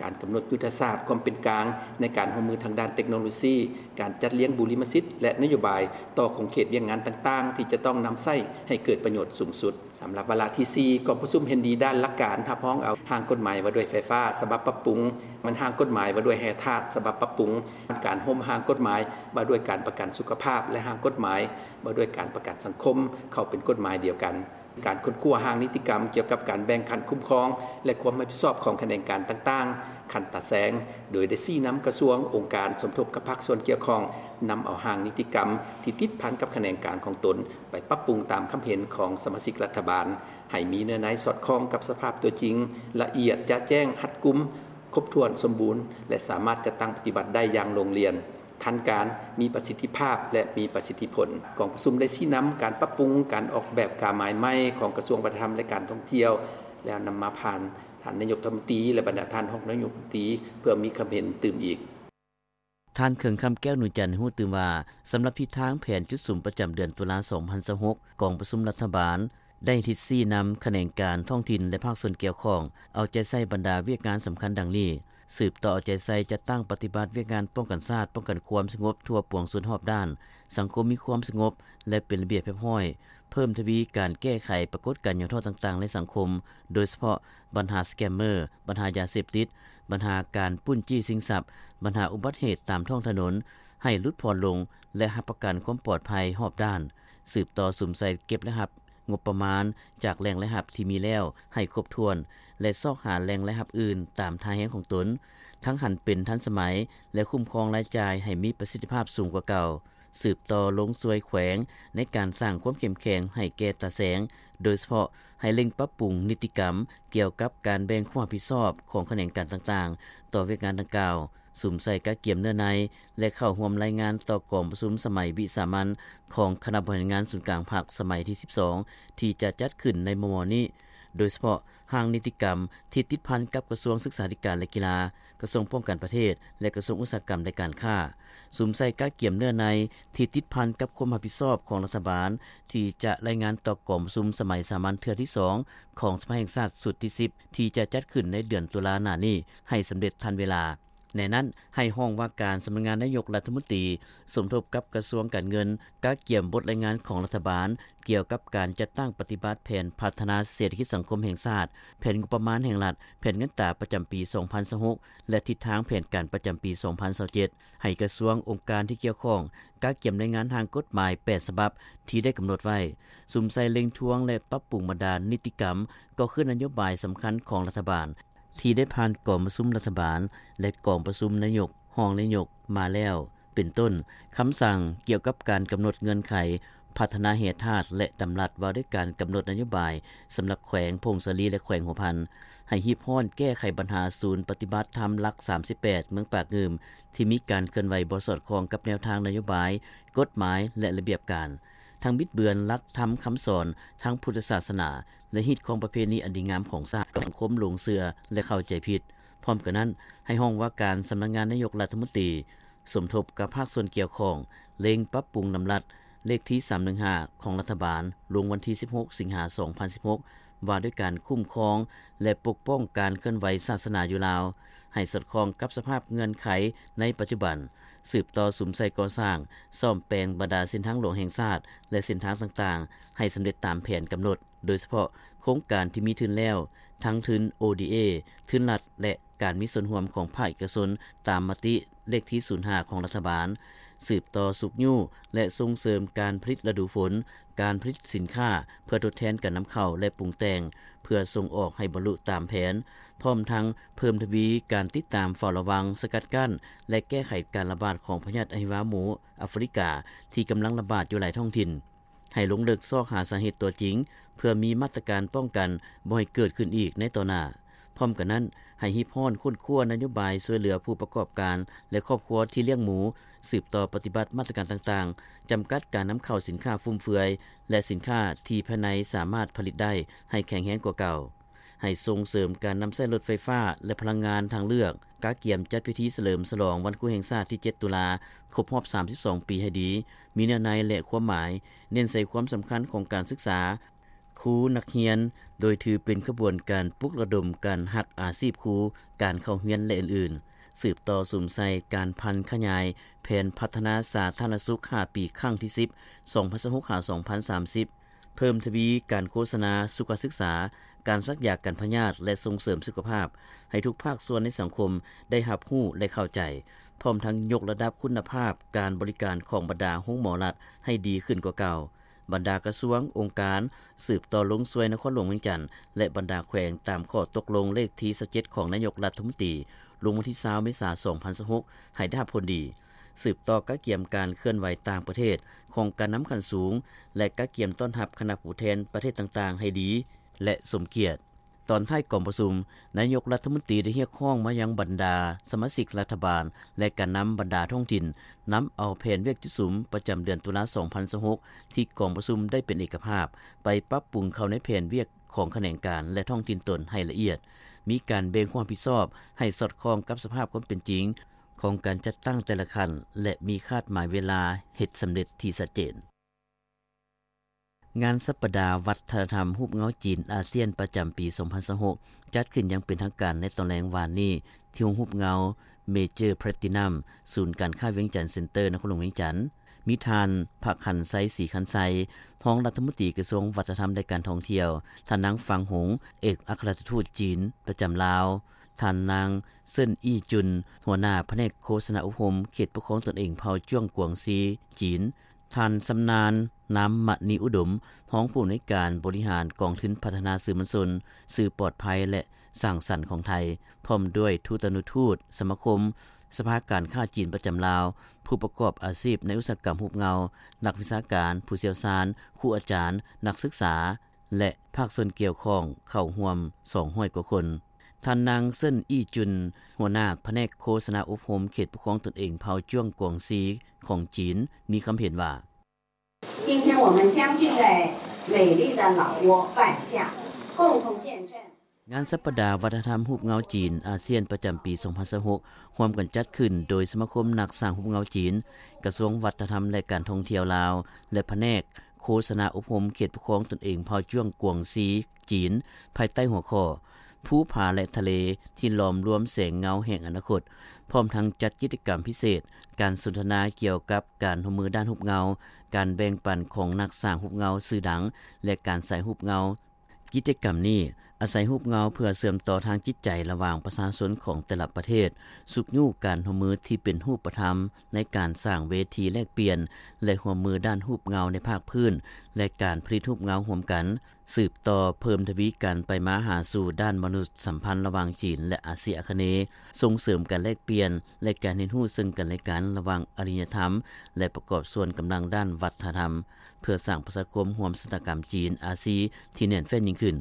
ການກຳນົດຍຸດທະສາດຄວາມເປັນກາງໃນການຮ່ວມມືທາງດ້ານເຕັກໂນໂລຊີ, ການຈັດລຽງບຸລິມະສິດ ແລະ ນະໂຍບາຍຕໍ່ຂົງເຂດວຽກງານຕ່າງໆ ທີ່ຈະຕ້ອງນຳໃຊ້ໃຫ້ເກີດປະໂຫຍດສູງສຸດ. ສຳລັບວາລະທີສີ່ ກອງປະຊຸມເຫັນດີດ້ານຫຼັກການຮັບຮອງເອົາຮ່າງກົດໝາຍວ່າດ້ວຍໄຟຟ້າສະບັບປັບປຸງ, ແມ່ນຮ່າງກົດໝາຍວ່າດ້ວຍແຮ່ທາດສະບັບປັບປຸງ, ການໂຮມຮ່າງກົດໝາຍວ່າດ້ວຍການປະກັນສຸຂະພາບ ແລະ ຮ່າງກົດໝາຍວ່າດ້ວຍການປະກັນສັງຄົມ ເຂົ້າເປັນກົດໝາຍດຽວກັນ. ການຄົ້ນຄວ້າຮ່າງນິຕິກຳກ່ຽວກັບການແບ່ງຂັ້ນຄຸ້ມຄອງ ແລະ ຄວາມຮັບຜິດຊອບຂອງຂະແໜງການຕ່າງໆ ຂັ້ນຕາແສງ, ໂດຍໄດ້ຊີ້ນຳກະຊວງ, ອົງການສົມທົບກັບພາກສ່ວນກ່ຽວຂ້ອງ ນຳເອົາຮ່າງນິຕິກຳທີ່ຕິດພັນກັບຂະແໜງການຂອງຕົນ ໄປປັບປຸງຕາມຄຳເຫັນຂອງສະມາຊິກລັດຖະບານ ໃຫ້ມີເນື້ອໃນສອດຄ່ອງກັບສະພາບຕົວຈິງ, ລະອຽດ, ຈະແຈ້ງ, ຮັດກຸມ, ຄົບຖ້ວນ, ສົມບູນ ແລະ ສາມາດຈັດຕັ້ງປະຕິບັດໄດ້ຢ່າງໂລ່ງລ່ຽນ, ທັນການ, ມີປະສິດທິພາບ ແລະ ມີປະສິດທິຜົນ. ກອງປະຊຸມໄດ້ຊີ້ນຳການປັບປຸງການອອກແບບກາໝາຍໃໝ່ຂອງກະຊວງວັດທະນະທຳ ແລະ ການທ່ອງທ່ຽວ ແລ້ວນຳມາຜ່ານທ່ານນາຍົກລັດຖະມົນຕີ ແລະ ບັນດາທ່ານຮອງນາຍົກລັດຖະມົນຕີ ເພື່ອມີຄຳເຫັນຕື່ມອີກ. ທ່ານ ເຂື່ອງຄຳ ແກ້ວໜູຈັນ ໃຫ້ຮູ້ຕື່ມວ່າ ສຳລັບທິດທາງແຜນຈຸດສຸມປະຈຳເດືອນຕຸລາ ສອງພັນຊາວຫົກ ກອງປະຊຸມລັດຖະບານໄດ້ທິດຊີ້ນຳຂະແໜງການທ້ອງຖິ່ນ ແລະ ພາກສ່ວນກ່ຽວຂ້ອງ ເອົາໃຈໃສ່ບັນດາວຽກງານສຳຄັນດັ່ງນີ້: ສືບຕໍ່ເອົາໃຈໃສ່ຈັດຕັ້ງປະຕິບັດວຽກງານປ້ອງກັນຊາດ, ປ້ອງກັນຄວາມສະຫງົບທົ່ວປວງຊົນຮອບດ້ານ, ສັງຄົມມີຄວາມສະຫງົບ ແລະ ເປັນລະບຽບຮຽບຮ້ອຍ, ເພີ່ມທະວີການແກ້ໄຂປາກົດການຫຍໍ້ທໍ້ຕ່າງໆໃນສັງຄົມ, ໂດຍສະເພາະບັນຫາສະແກມເມີ, ບັນຫາຢາເສບຕິດ, ບັນຫາການປຸ້ນຈີ້ຊິງຊັບ, ບັນຫາອຸບັດເຫດຕາມທ້ອງຖະໜົນ ໃຫ້ຫຼຸດຜ່ອນລົງ ແລະ ຮັບປະກັນຄວາມປອດໄພຮອບດ້ານ. ສືບຕໍ່ສຸມໃສ່ເກັບລາຍຮັບງົບປະມານຈາກແຫຼ່ງລາຍຮັບທີ່ມີແລ້ວໃຫ້ຄົບຖ້ວນ ແລະ ຊອກຫາແຫຼ່ງລາຍຮັບອື່ນຕາມທ່າແຮງຂອງຕົນ, ທັງຫັນເປັນທັນສະໄໝ ແລະ ຄຸ້ມຄອງລາຍຈ່າຍໃຫ້ມີປະສິດທິພາບສູງກວ່າເກົ່າ. ສືບຕໍ່ລົງຊ່ວຍແຂວງໃນການສ້າງຄວາມເຂັ້ມແຂງໃຫ້ແກ່ຕາແສງ, ໂດຍສະເພາະໃຫ້ເລັ່ງປັບປຸງນິຕິກຳກ່ຽວກັບການແບ່ງຄວາມຮັບຜິດຊອບຂອງຂະແໜງການຕ່າງໆຕໍ່ວຽກງານດັ່ງກ່າວ, ສຸມໃສ່ກະກຽມເນື້ອໃນ ແລະ ເຂົ້າຮ່ວມລາຍງານຕໍ່ກອງປະຊຸມສະໄໝວິສາມັນຂອງຄະນະບໍລິຫານງານສູນກາງພັກສະໄໝທີສິບສອງ ທີ່ຈະຈັດຂຶ້ນໃນມໍ່ໆນີ້, ໂດຍສະເພາະຮ່າງນິຕິກຳທີ່ຕິດພັນກັບກະຊວງສຶກສາທິການ ແລະ ກິລາ, ກະຊວງປ້ອງກັນປະເທດ ແລະ ກະຊວງອຸດສາຫະກຳ ແລະ ການຄ້າ. ສຸມໃສ່ກະກຽມເນື້ອໃນທີ່ຕິດພັນກັບຄວາມຮັບຜິດຊອບຂອງລັດຖະບານ ທີ່ຈະລາຍງານຕໍ່ກອງປະຊຸມສະໄໝສາມັນເທື່ອທີສອງຂອງສະພາແຫ່ງຊາດຊຸດທີສິບ ທີ່ຈະຈັດຂຶ້ນໃນເດືອນຕຸລາໜ້ານີ້ໃຫ້ສຳເລັດທັນເວລາ. ໃນນັ້ນໃຫ້ຫ້ອງວ່າການສຳນັກງານນາຍົກລັດຖະມົນຕີ ສົມທົບກັບກະຊວງການເງິນ ກະກຽມບົດລາຍງານຂອງລັດຖະບານ ກ່ຽວກັບການຈັດຕັ້ງປະຕິບັດແຜນພັດທະນາເສດຖະກິດສັງຄົມແຫ່ງຊາດ, ແຜນງົບປະມານແຫ່ງລັດ, ແຜນເງິນຕາປະຈຳປີສອງພັນຊາວຫົກ ແລະ ທິດທາງແຜນການປະຈຳປີສອງພັນຊາວເຈັດ ໃຫ້ກະຊວງ, ອົງການທີ່ກ່ຽວຂ້ອງ ກະກຽມລາຍງານຮ່າງກົດໝາຍແປດສະບັບທີ່ໄດ້ກຳນົດໄວ້, ສຸມໃສ່ເລັ່ງທວງ ແລະ ປັບປຸງບັນດານິຕິກຳ ກໍຄືນະໂຍບາຍສຳຄັນຂອງລັດຖະບານ ທີ່ໄດ້ຜ່ານກອງປະຊຸມລັດຖະບານ ແລະ ກອງປະຊຸມນາຍົກ, ຮອງນາຍົກມາແລ້ວ, ເປັນຕົ້ນ ຄຳສັ່ງກ່ຽວກັບການກຳນົດເງື່ອນໄຂພັດທະນາແຮ່ທາດ ແລະ ດຳລັດວ່າດ້ວຍການກຳນົດນະໂຍບາຍສຳລັບແຂວງຜົ້ງສາລີ ແລະ ແຂວງຫົວພັນ, ໃຫ້ຮີບຮ້ອນແກ້ໄຂບັນຫາສູນປະຕິບັດທຳຫຼັກສາມສິບແປດ ເມືອງປາກງື່ມ ທີ່ມີການເຄື່ອນໄຫວບໍ່ສອດຄ່ອງກັບແນວທາງນະໂຍບາຍ, ກົດໝາຍ ແລະ ລະບຽບການ, ທັງບິດເບືອນຫຼັກທຳຄຳສອນທາງພຸດທະສາສະໜາ ແລະ ຮີດຄອງປະເພນີອັນດີງາມຂອງຊາດ ໃຫ້ສັງຄົມຫຼົງເຊື່ອ ແລະ ເຂົ້າໃຈຜິດ. ພ້ອມກັນນັ້ນ, ໃຫ້ຫ້ອງວ່າການສຳນັກງານນາຍົກລັດຖະມົນຕີ ສົມທົບກັບພາກສ່ວນກ່ຽວຂ້ອງ ເລັ່ງປັບປຸງດຳລັດເລກທີສາມໜຶ່ງຫ້າ ຂອງລັດຖະບານ ລົງວັນທີສິບຫົກ ສິງຫາ ສອງພັນສິບຫົກ ວ່າດ້ວຍການຄຸ້ມຄອງ ແລະ ປົກປ້ອງການເຄື່ອນໄຫວສາສະໜາຢູ່ລາວ ໃຫ້ສອດຄ່ອງກັບສະພາບເງື່ອນໄຂໃນປັດຈຸບັນ, ສືບຕໍ່ສຸມໃສ່ກໍ່ສ້າງ, ສ້ອມແປງບັນດາເສັ້ນທາງຫຼວງແຫ່ງຊາດ ແລະ ເສັ້ນທາງຕ່າງໆ ໃຫ້ສຳເລັດຕາມແຜນກຳນົດ, ໂດຍສະເພາະໂຄງການທີ່ມີທຶນແລ້ວ, ທັງທຶນ ໂອ ດີ ເອ, ທຶນລັດ ແລະ ການມີສ່ວນຮ່ວມຂອງພາກເອກະຊົນ ຕາມມະຕິເລກທີສູນຫ້າ ຂອງລັດຖະບານ, ສືບຕໍ່ຊຸກຍູ້ ແລະ ສົ່ງເສີມການຜະລິດລະດູຝົນ, ການຜະລິດສິນຄ້າເພື່ອທົດແທນການນຳເຂົ້າ ແລະ ປຸງແຕ່ງເພື່ອສົ່ງອອກໃຫ້ບັນລຸຕາມແຜນ, ພ້ອມທັງເພີ່ມທະວີການຕິດຕາມເຝົ້າລະວັງ, ສະກັດກັ້ນ ແລະ ແກ້ໄຂການລະບາດຂອງພະຍາດອະຫິວາໝູອາຟຣິກາ ທີ່ກຳລັງລະບາດຢູ່ຫຼາຍທ້ອງຖິ່ນ. ໃຫ້ລົງເລິກຊອກຫາສາເຫດຕົວຈິງ ເພື່ອມີມາດຕະການປ້ອງກັນບໍ່ໃຫ້ເກີດຂຶ້ນອີກໃນຕໍ່ໜ້າ. ພ້ອມກັນນັ້ນ, ໃຫ້ຮີບຮ້ອນຄົ້ນຄວ້ານະໂຍບາຍຊ່ວຍເຫຼືອຜູ້ປະກອບການ ແລະ ຄອບຄົວທີ່ລ້ຽງໝູ, ສືບຕໍ່ປະຕິບັດມາດຕະການຕ່າງໆ ຈຳກັດການນຳເຂົ້າສິນຄ້າຟຸມເຟືອຍ ແລະ ສິນຄ້າທີ່ພາຍໃນສາມາດຜະລິດໄດ້ໃຫ້ແຂງແຮງກວ່າເກົ່າ. ໃຫ້ສົ່ງເສີມການນຳໃຊ້ລົດໄຟຟ້າ ແລະ ພະລັງງານທາງເລືອກ, ກະກຽມຈັດພິທີສະເຫຼີມສະຫຼອງວັນຄູແຫ່ງຊາດທີເຈັດ ຕຸລາ ຄົບຮອບສາມສິບສອງປີໃຫ້ດີ, ມີເນື້ອໃນ ແລະ ຄວາມໝາຍ, ເນັ້ນໃສ່ຄວາມສຳຄັນຂອງການສຶກສາ, ຄູນັກຮຽນ ໂດຍຖືເປັນຂະບວນການປຸກລະດົມການຮັກອາຊີບຄູ, ການເຂົ້າຮຽນ ແລະ ອື່ນໆ. ສືບຕໍ່ສຸມໃສ່ການຜັນຂະຫຍາຍແຜນພັດທະນາສາທາລະນະສຸກຫ້າປີ ຄັ້ງທີສິບ ສອງພັນຊາວຫົກ ຫາ ສອງພັນສາມສິບ, ເພີ່ມທະວີການໂຄສະນາສຸຂະສຶກສາ, ການສັກຢາກັນພະຍາດ ແລະ ສົ່ງເສີມສຸຂະພາບ ໃຫ້ທຸກພາກສ່ວນໃນສັງຄົມໄດ້ຮັບຮູ້ ແລະ ເຂົ້າໃຈ, ພ້ອມທັງຍົກລະດັບຄຸນນະພາບການບໍລິການຂອງບັນດາໂຮງໝໍລັດໃຫ້ດີຂຶ້ນກວ່າເກົ່າ. ບັນດາກະຊວງ, ອົງການ ສືບຕໍ່ລົງຊ່ວຍນະຄອນຫຼວງວຽງຈັນ ແລະ ບັນດາແຂວງ ຕາມຂໍ້ຕົກລົງເລກທີຊາວເຈັດ ຂອງນາຍົກລັດຖະມົນຕີ ລົງວັນທີຊາວ ເມສາ ສອງພັນຊາວຫົກ ໃຫ້ໄດ້ຮັບຜົນດີ. ສືບຕໍ່ກະກຽມການເຄື່ອນໄຫວຕ່າງປະເທດຂອງການນຳຂັ້ນສູງ ແລະ ກະກຽມຕ້ອນຮັບຄະນະຜູ້ແທນປະເທດຕ່າງໆໃຫ້ດີ ແລະ ສົມກຽດ. ຕອນທ້າຍກອງປະຊຸມ, ນາຍົກລັດຖະມົນຕີໄດ້ຮຽກຮ້ອງມາຍັງບັນດາສະມາຊິກລັດຖະບານ ແລະ ການນຳບັນດາທ້ອງຖິ່ນ ນຳເອົາແຜນວຽກຈຸດສຸມປະຈຳເດືອນຕຸລາ ສອງພັນຊາວຫົກ ທີ່ກອງປະຊຸມໄດ້ເປັນເອກະພາບ ໄປປັບປຸງເຂົ້າໃນແຜນວຽກຂອງຂະແໜງການ ແລະ ທ້ອງຖິ່ນຕົນໃຫ້ລະອຽດ, ມີການແບ່ງຄວາມຮັບຜິດຊອບໃຫ້ສອດຄ່ອງກັບສະພາບຄວາມເປັນຈິງຂອງການຈັດຕັ້ງແຕ່ລະຂັ້ນ ແລະ ມີຄາດໝາຍເວລາເຮັດສຳເລັດທີ່ຊັດເຈນ. ງານສັບປະດາວັດທະນະທຳຮູບເງົາຈີນອາຊຽນປະຈຳປີສອງພັນຊາວຫົກ ຈັດຂຶ້ນຢ່າງເປັນທາງການໃນຕອນແລງວານນີ້ ທີ່ໂຮງຮູບເງົາ Major Platinum ສູນການຄ້າວຽງຈັນເຊັນເຕີ ນະຄອນຫຼວງວຽງຈັນ. ມີທ່ານ ພະຄັນໄຊ ສີຄັນໄຊ ຮອງລັດຖະມົນຕີກະຊວງວັດທະນະທຳ ແລະ ການທ່ອງທ່ຽວ, ທ່ານນາງ ຟັງຫົງ ເອກອັກຄະລັດຖະທູດຈີນປະຈຳລາວ, ທ່ານນາງ ເຊິນ ອີ່ຈຸນ ຫົວໜ້າພະແນກໂຄສະນາອົບຮົມເຂດປົກຄອງຕົນເອງເຜົ່າຈວງກວາງຊີ ຈີນ, ທ່ານ ຊຳນານ ນາມມະນີອຸດົມ ຮອງຜູ້ອຳນວຍການບໍລິຫານກອງທຶນພັດທະນາສື່ມວນຊົນ, ສື່ປອດໄພ ແລະ ສ້າງສັນຂອງໄທ, ພ້ອມດ້ວຍທູຕານຸທູດສະມາຄົມສະພາການຄ້າຈີນປະຈຳລາວ, ຜູ້ປະກອບອາຊີບໃນອຸດສາຫະກຳຮູບເງົາ, ນັກວິຊາການ, ຜູ້ຊ່ຽວຊານ, ຄູອາຈານ, ນັກສຶກສາ ແລະ ພາກສ່ວນກ່ຽວຂ້ອງເຂົ້າຮ່ວມສອງຮ້ອຍກວ່າຄົນ. ທ່ານນາງ ເຊິນ ອີ່ຈຸນ ຫົວໜ້າພະແນກໂຄສະນາອົບຮົມເຂດປົກຄອງຕົນເອງເຜົ່າຈວງກວາງຊີຂອງຈີນ ມີຄຳເຫັນວ່າ, 今天我们相聚在美丽的老挝半夏，共同见证 ງານສັບປະດາວັດທະນະທຳຮູບເງົາຈີນອາຊຽນປະຈຳປີສອງພັນຊາວຫົກ ຮ່ວມກັນຈັດຂຶ້ນໂດຍສະມາຄົມນັກສ້າງຮູບເງົາຈີນ, ກະຊວງວັດທະນະທຳ ແລະ ການທ່ອງທ່ຽວລາວ ແລະ ພະແນກໂຄສະນາອົບຮົມເຂດປົກຄອງຕົນເອງເຜົ່າຈວງກວາງຊີ ຈີນ, ພາຍໃຕ້ຫົວຂໍ້ ພູຜາ ແລະ ທະເລ ທີ່ຫຼອມລວມແສງເງົາແຫ່ງອະນາຄົດ, ພ້ອມທັງຈັດກິດຈະກຳພິເສດ, ການສົນທະນາກ່ຽວກັບການຮ່ວມມືດ້ານຮູບເງົາ, ການແບ່ງປັນຂອງນັກສ້າງຮູບເງົາຊື່ດັງ ແລະ ການສາຍຮູບເງົາ. ກິດຈະກຳນີ້ອາໄສຮູບເງົາເພື່ອເຊື່ອມຕໍ່ທາງຈິດໃຈລະຫວ່າງປະຊາຊົນຂອງແຕ່ລະປະເທດ, ຊຸກຍູ້ການຮ່ວມມືທີ່ເປັນຮູບປະທຳໃນການສ້າງເວທີແລກປ່ຽນ ແລະ ຮ່ວມມືດ້ານຮູບເງົາໃນພາກພື້ນ ແລະ ການຜະລິດຮູບເງົາຮ່ວມກັນ, ສືບຕໍ່ເພີ່ມທະວີການໄປມາຫາສູ່ດ້ານມະນຸດສຳພັນລະຫວ່າງຈີນ ແລະ ອາຊີອາຄະເນ, ສົ່ງເສີມການແລກປ່ຽນ ແລະ ການຮຽນຮູ້ເຊິ່ງກັນແລະກັນລະຫວ່າງອາລິຍະທຳ ແລະ ປະກອບສ່ວນກຳລັງດ້ານວັດທະນະທຳ ເພື່ອສ້າງປະຊາຄົມຮ່ວມຊະຕາກຳຈີນ-ອາຊີທີ່ແໜ້ນແຟ້ນຍິ່ງຂຶ້ນ.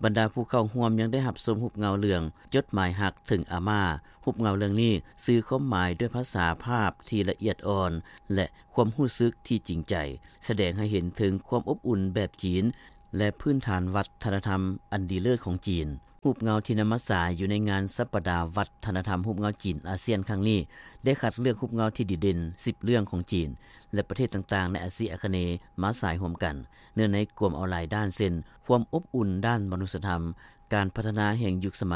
ບັນດາຜູ້ເຂົ້າຮ່ວມຍັງໄດ້ຮັບຊົມຮູບເງົາເລື່ອງ ຈົດໝາຍຮັກເຖິງອາມ່າ. ຮູບເງົາເລື່ອງນີ້ສື່ຄວາມໝາຍດ້ວຍພາສາພາບທີ່ລະອຽດອ່ອນ ແລະ ຄວາມຮູ້ສຶກທີ່ຈິງໃຈ, ສະແດງໃຫ້ເຫັນເຖິງຄວາມອົບອຸ່ນແບບຈີນ ແລະ ພື້ນຖານວັດທະນະທຳອັນດີເລີດຂອງຈີນ. ຮູບເງົາທີ່ນຳມາສາຍຢູ່ໃນງານສັບປະດາວັດທະນະທຳຮູບເງົາຈີນອາຊຽນຄັ້ງນີ້ ໄດ້ຄັດເລືອກຮູບເງົາທີ່ດີເດັ່ນສິບເລື່ອງຂອງຈີນ ແລະ ປະເທດຕ່າງໆໃນອາຊີອາຄະເນມາສາຍຮ່ວມກັນ. ເນື້ອໃນກວມເອົາຫຼາຍດ້ານເຊັ່ນ ຄວາມອົບອຸ່ນດ້ານມະນຸດສະທຳ, ການພັດທະນາແຫ່ງຍຸກສະໄໝ,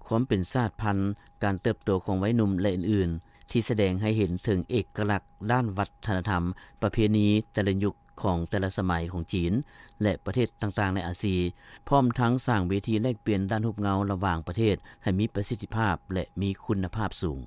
ຄວາມເປັນຊາດພັນ, ການເຕີບໂຕຂອງໄວໜຸ່ມ ແລະ ອື່ນໆ ທີ່ສະແດງໃຫ້ເຫັນເຖິງເອກະລັກດ້ານວັດທະນະທຳ, ປະເພນີແຕ່ລະຍຸກຂອງແຕ່ລະສະໄໝຂອງຈີນ ແລະ ປະເທດຕ່າງໆໃນອາຊີ, ພ້ອມທັງສ້າງເວທີແລກປ່ຽນດ້ານຮູບເງົາລະຫວ່າງປະເທດໃຫ້ມີປະສິດທິພາບ ແລະ ມີຄຸນນະພາບສູງ.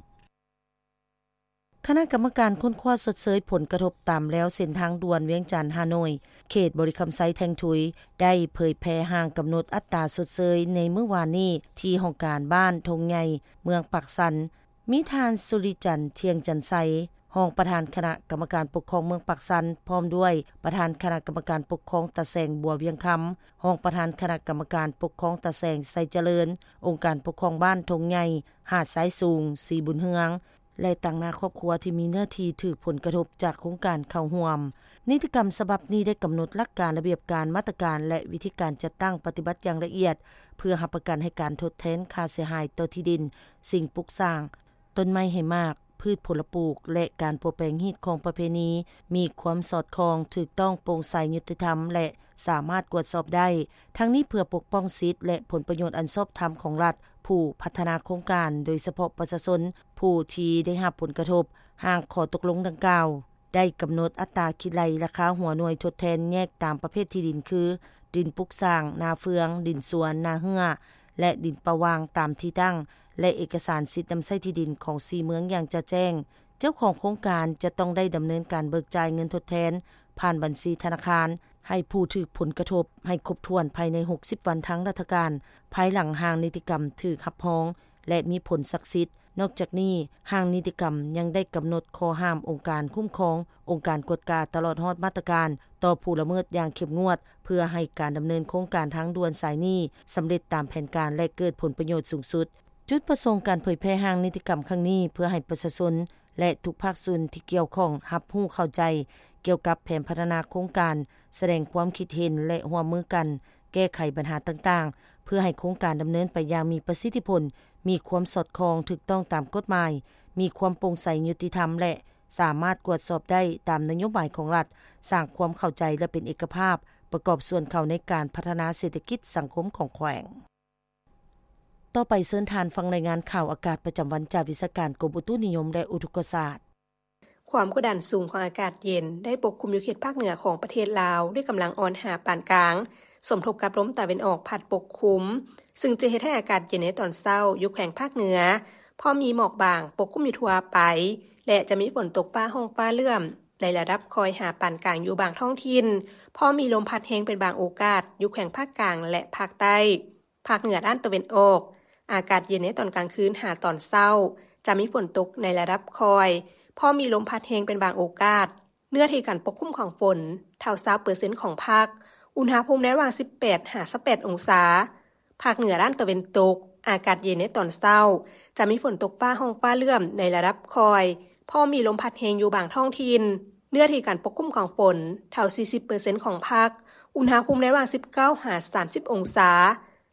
ຄະນະກຳມະການຄົ້ນຄວ້າຊົດເຊີຍຜົນກະທົບຕາມແລວເສັ້ນທາງດ່ວນວຽງຈັນ-ຮ່າໂນ້ຍ ເຂດບໍລິຄຳໄຊແທງທຸຍ ໄດ້ເຜີຍແຜ່ຮ່າງກຳນົດອັດຕາຊົດເຊີຍໃນມື້ວານນີ້ ທີ່ຫ້ອງການບ້ານທົ່ງໃຫຍ່ ເມືອງປາກຊັນ. ມີທ່ານ ສຸລິຈັນ ທ່ຽງຈັນໄຊ ຮອງປະທານຄະນະກຳມະການປົກຄອງເມືອງປາກຊັນ, ພ້ອມດ້ວຍປະທານຄະນະກຳມະການປົກຄອງຕາແສງບົວວຽງຄຳ, ຮອງປະທານຄະນະກຳມະການປົກຄອງຕາແສງໄຊຈະເລີນ, ອົງການປົກຄອງບ້ານທົ່ງໃຫຍ່, ຫາດຊາຍສູງ, ສີບຸນເຮືອງ ແລະ ຕາງໜ້າຄອບຄົວທີ່ມີເນື້ອທີ່ຖືກຜົນກະທົບຈາກໂຄງການເຂົ້າຮ່ວມ. ນິຕິກຳສະບັບນີ້ໄດ້ກຳນົດຫຼັກການ, ລະບຽບການ, ມາດຕະການ ແລະ ວິທີການຈັດຕັ້ງປະຕິບັດຢ່າງລະອຽດ ເພື່ອຮັບປະກັນໃຫ້ການທົດແທນຄ່າເສຍຫາຍຕໍ່ທີ່ດິນ, ສິ່ງປຸກສ້າງ, ຕົ້ນໄມ້ໃຫ້ໝາກ, ພືດຜົນລະປູກ ແລະ ການປົວແປງຮີດຄອງປະເພນີ ມີຄວາມສອດຄ່ອງ, ຖືກຕ້ອງ, ໂປ່ງໃສ, ຍຸຕິທຳ ແລະ ສາມາດກວດສອບໄດ້, ທັງນີ້ເພື່ອປົກປ້ອງສິດ ແລະ ຜົນປະໂຫຍດອັນຊອບທຳຂອງລັດຜູ້ພັດທະນາໂຄງການ, ໂດຍສະເພາະປະຊາຊົນຜູ້ທີ່ໄດ້ຮັບຜົນກະທົບຫາງຂໍ້ຕົກລົງດັ່ງກ່າວ. ໄດ້ກຳນົດອັດຕາຄິດໄລ່ລາຄາຫົວໜ່ວຍທົດແທນແຍກຕາມປະເພດທີ່ດິນ ຄື ດິນປຸກສ້າງ, ນາເຟືອງ, ດິນສວນ, ນາເຮື້ອ ແລະ ດິນປ່າວ່າງ ຕາມທີ່ຕັ້ງ ແລະ ເອກະສານສິດນຳໃຊ້ທີ່ດິນຂອງສີ່ເມືອງຢ່າງຈະແຈ້ງ. ເຈົ້າຂອງໂຄງການຈະຕ້ອງໄດ້ດຳເນີນການເບີກຈ່າຍເງິນທົດແທນຜ່ານບັນຊີທະນາຄານໃຫ້ຜູ້ຖືກຜົນກະທົບໃຫ້ຄົບຖ້ວນພາຍໃນຫົກສິບວັນທາງລັດຖະການ, ພາຍຫຼັງຮ່າງນິຕິກຳຖືກຮັບຮອງ ແລະ ມີຜົນສັກສິດ. ນອກຈາກນີ້, ຮ່າງນິຕິກຳຍັງໄດ້ກຳນົດຂໍ້ຫ້າມອົງການຄຸ້ມຄອງ, ອົງການກວດກາ, ຕະຫຼອດຮອດມາດຕະການຕໍ່ຜູ້ລະເມີດຢ່າງເຂັ້ມງວດ ເພື່ອໃຫ້ການດຳເນີນໂຄງການທາງດ່ວນສາຍນີ້ສຳເລັດຕາມແຜນການ ແລະ ເກີດຜົນປະໂຫຍດສູງສຸດ. ຈຸດປະສົງການເຜີຍແຜ່ຮ່າງນິຕິກຳຄັ້ງນີ້ ເພື່ອໃຫ້ປະຊາຊົນ ແລະ ທຸກພາກສ່ວນທີ່ກ່ຽວຂ້ອງຮັບຮູ້ເຂົ້າໃຈກ່ຽວກັບແຜນພັດທະນາໂຄງການ, ສະແດງຄວາມຄິດເຫັນ ແລະ ຮ່ວມມືກັນແກ້ໄຂບັນຫາຕ່າງໆ ເພື່ອໃຫ້ໂຄງການດຳເນີນໄປຢ່າງມີປະສິດທິຜົນ, ມີຄວາມສອດຄ່ອງ, ຖືກຕ້ອງຕາມກົດໝາຍ, ມີຄວາມໂປ່ງໃສ, ຍຸຕິທຳ ແລະ ສາມາດກວດສອບໄດ້ຕາມນະໂຍບາຍຂອງລັດ, ສ້າງຄວາມເຂົ້າໃຈ ແລະ ເປັນເອກະພາບ, ປະກອບສ່ວນເຂົ້າໃນການພັດທະນາເສດຖະກິດສັງຄົມຂອງແຂວງ. ຕໍ່ໄປເຊີນທ່ານຟັງລາຍງານຂ່າວອາກາດປະຈຳວັນຈາກວິຊາການກົມອຸຕຸນິຍົມ ແລະ ອຸທົກກະສາດ. ຄວາມກົດດັນສູງຂອງອາກາດເຢັນໄດ້ປົກຄຸມຢູ່ເຂດພາກເໜືອຂອງປະເທດລາວ ດ້ວຍກຳລັງອ່ອນຫາປານກາງ, ສົມທົບກັບລົມຕາເວັນອອກພັດປົກຄຸມ, ຊຶ່ງຈະເຮັດໃຫ້ອາກາດເຢັນໃນຕອນເຊົ້າຢູ່ແຂວງພາກເໜືອ ພໍມີໝອກບາງປົກຄຸມຢູ່ທົ່ວໄປ ແລະ ຈະມີຝົນຕົກຟ້າຮ້ອງຟ້າເຫຼື້ອມໃນລະດັບຄ່ອຍຫາປານກາງຢູ່ບາງທ້ອງຖິ່ນ, ພໍມີລົມພັດແຮງເປັນບາງໂອກາດຢູ່ແຂວງພາກກາງ ແລະ ພາກໃຕ້. ພາກເໜືອດ້ານຕາເວັນອອກ, ອາກາດເຢັນໃນຕອນກາງຄືນຫາຕອນເຊົ້າ, ຈະມີຝົນຕົກໃນລະດັບຄ່ອຍ, ພໍມີລົມພັດແຮງເປັນບາງໂອກາດ. ເນື້ອທີ່ການປົກຄຸມຂອງຝົນ ເທົ່າຊາວເປີເຊັນຂອງພາກ, ອຸນຫະພູມໃນລະຫວ່າງສິບແປດຫາຊາວແປດອົງສາ. ພາກເໜືອດ້ານຕາເວັນຕົກ, ອາກາດເຢັນໃນຕອນເຊົ້າ, ຈະມີຝົນຕົກຟ້າຮ້ອງຟ້າເຫຼື້ອມໃນລະດັບຄ່ອຍ, ພໍມີລົມພັດແຮງຢູ່ບາງທ້ອງຖິ່ນ. ເນື້ອທີ່ການປົກຄຸມຂອງຝົນ ເທົ່າສີ່ສິບເປີເຊັນຂອງພາກ, ອຸນຫະພູມໃນລະຫວ່າງສິບເກົ້າຫາສາມສິບອົງສາ.